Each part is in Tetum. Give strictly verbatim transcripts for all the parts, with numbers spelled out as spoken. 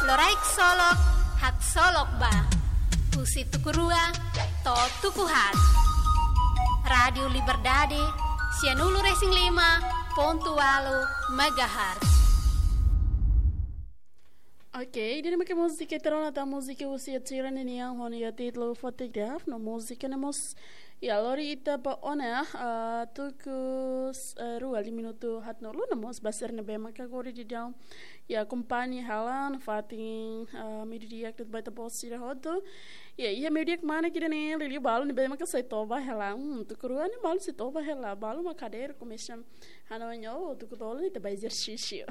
Loraik solok, haksolok ba. Husi tuku rua to'o tuku haat. Rádiu Liberdade, sianulu-resin-lima pontu ualu megahertz. Oke, ida-ne'e maka múzika ita rona tan, múzika husi Ed Sheeran nian ho nia títulu Photograph, no múzika ne'e mós, iha lori ita ba ona, ah, tuku, eh, rua liu minutu haatnulu, no mós ba sira ne'ebé maka agora daudaun iha akompaña hela nafatin, ah, meiudia, kret baita bos sira hotu. Iha, iha meiudia kmanek ida-ne'e, liuliu balu ne'ebé maka sai toba hela. Hmm, tuku rua ne'e balu sai toba hela, balu mak hadeer komesa hanoin, oh, tuku tolu ita bá ezersísiu.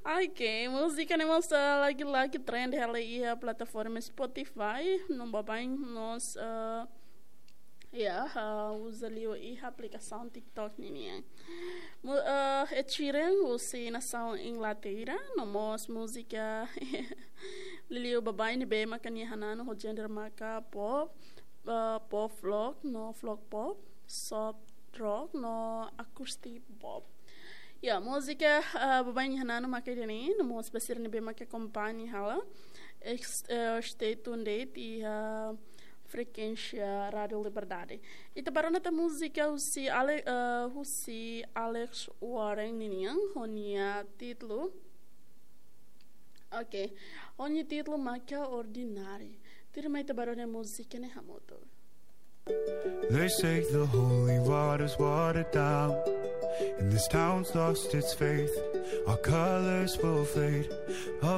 Oke, múzika ne'e mós, ah, lagi-lagi trend hela iha plataforma Spotify, no baibain mós, ah, iha, ah, uza liu iha aplikasaun TikTok ninian. Mu-, ah, Ed Sheeran husi nasaun Inglaterra, no mós múzika liuliu baibain ne'ebé maka nia hananu ho géneru maka pop, ah, pop rock, no folk pop, soft rock, no acoustic pop. Ya, múzika, ah, baibain nia hananu maka ida-ne'e, no mós ba sira ne'ebé maka akompaña hela, ex-, eh, stay tuned iha frekuénsia Rádiu Liberdade. Ita bá rona tan múzika husi Ale-, eh, husi Alex Warren ninian, ho nia títulu. Oke, ho nia títulu maka Ordinary. Tuirmai ita bá rona múzika ne'e hamutuk. They say the holy water's watered down, and this town's lost its faith. Our colors will fade, our